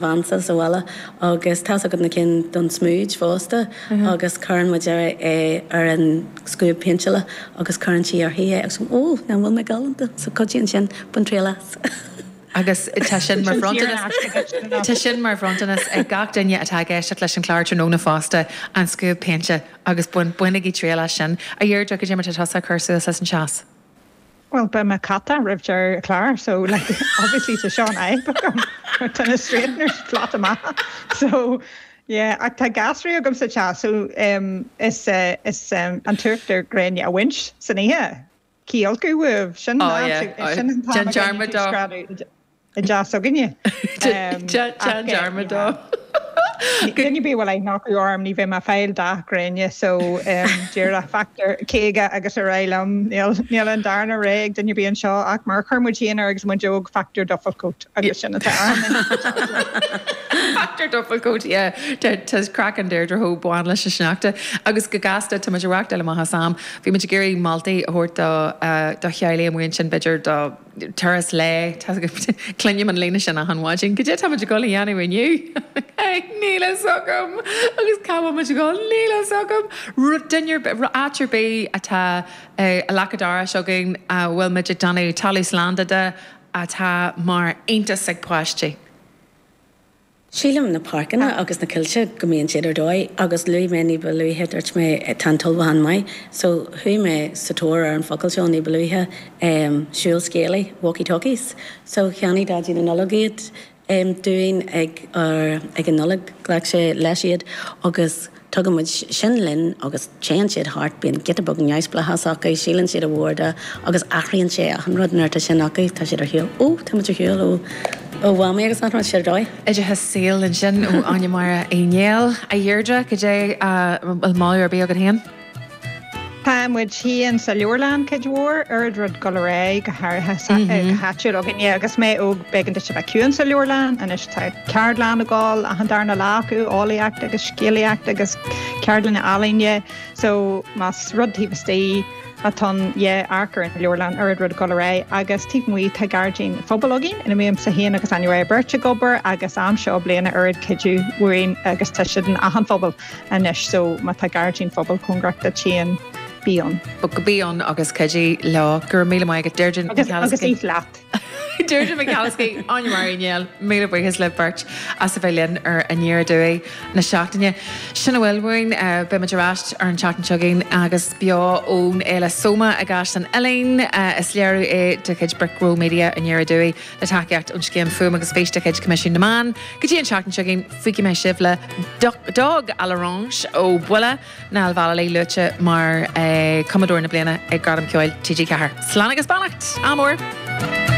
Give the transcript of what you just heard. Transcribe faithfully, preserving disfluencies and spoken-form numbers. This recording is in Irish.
bheansa sa bhaile agus tá agat na cinn don smúid fosta agus cuireann muid é ar an scuab péinteála agus cuireann sí uirthi é agus ó nach bhfuil mé galánta so cuidíonn sin bain triail as. Agus tá sin mar Tá sin mar bhronntanas ag gach duine atá ag éisteacht leis an chlár tráthnóna fosta an scuab péinte agus bain bainigí triail as sin. A Dheirdre cad é mar tá tusa cur suas leis an teas. Well beidh mé cata roimh deireadh an chláir so like obviously tá Sean Tá na straighteners flat amach so yeah ach tá gasraí agam sa teach so um, is uh, is um, an t-uachtar gréine a bhaint san oíche. Cíolcú bhuh sin Oh, yeah. sin an Déan dearmad dó. I dteach s'againne. Déan dearmad dó. Duine bí bhfuil nach orm ní bheidh mé fáil dath gréine so dúra factor caoga agus ar aghaidh liom níl an darna ré ag duine bí anseo ach mar chuir muid féin agus muid óg factor duffel coat agus sin atá Factor duffel coat yeah Tá craic an Deirdre ho buan leis an sneachta agus go gasta tá muid ag dul amach as am bhí muid ag iarraidh moltaí a thabhairt do do theaghlaigh amuigh ansin b'fhéidir do turas lae cluinim an líne sin achan mhaidin Cad é tá muid ag dul a dhéanamh inniu Níl a fhios agam agus cá bhfuil muid ag dul níl a fhios agam duine áit ar bith atá a leacadára againn a bhfuil muid ag déanamh talamh slán de atá mar iontas ag páistí. Sílim na páirceanna agus na coillte go mbíonn siad ar dóigh agus luaigh mé ní ba luaithe dúirt mé tá an t-ullmhúchán maith, so chuaigh mé sa tóir ar an focal seo ní ba luaithe um, siúl scéalaí walkie-talkies. So cheannaigh Daidí na Nollag iad um, dúinn ag, ar, ag an Nollaig ghlac sé leis iad agus tugann muid sin linn agus téann siad thart bíonn giota beag neamhspleáchas acu, síleann siad a bhórda agus athraíonn sé an rud nuair atá sin acu tá siad ar shiúl ó tá muid ar shiúl ó ó mhamaí agus nach siad ar dóigh. Oideachas saoil ansin ó Áine Máire Uí Néill a Dheirdre cad é an moladh ar bith agat féin. Tá muid féin sa leabharlann cuid mhór ar rud go ré go háirithe go háitiúil againne agus mé óg b'éigean duit a bheith ciúin sa leabharlann anois tá ceardlann ag gabháil achan darna lá acu eolaíocht agus scéalaíocht agus ceardlanna ealaíne so más rud taobh istigh atá yeah amharc ar an leabharlann ar rud go ré agus taobh amuigh tá gairdín phobail againn ina mbímse féin agus Áine beirt ag obair agus am seo bliana oiread cuidiú uainn agus tá siad in achan phobal anois so má tá gairdín phobail cóngarach duit féin bí ann. Go bí ann agus cuidigh leo gur míle maith agat Deirdre agus agus ith leat. Deirdre McAliskey Áine Máire Uí Néill míle buíochas le beirt as a bheith linn ar Aniar Aduaidh na seachtaine. Sin a bhfuil uainn beimid ar ais ar an tseachtain seo chugainn agus beo ón Fhéile Soma i gCaisleán Uidhilín is léiriú é de chuid Brick Row Media Aniar Aduaidh le tacaíocht ón scéim Fuaim agus Fís de chuid Coimisiún na Meán. Go dtí an tseachtain seo chugainn fágfaidh mé sibh le Dog à l'Orange ó Buile Niall Vallely luaite mar cumadóir na bliana ag Gradam Ceoil TG Ceathair. Slán agus beannacht, ádh mór!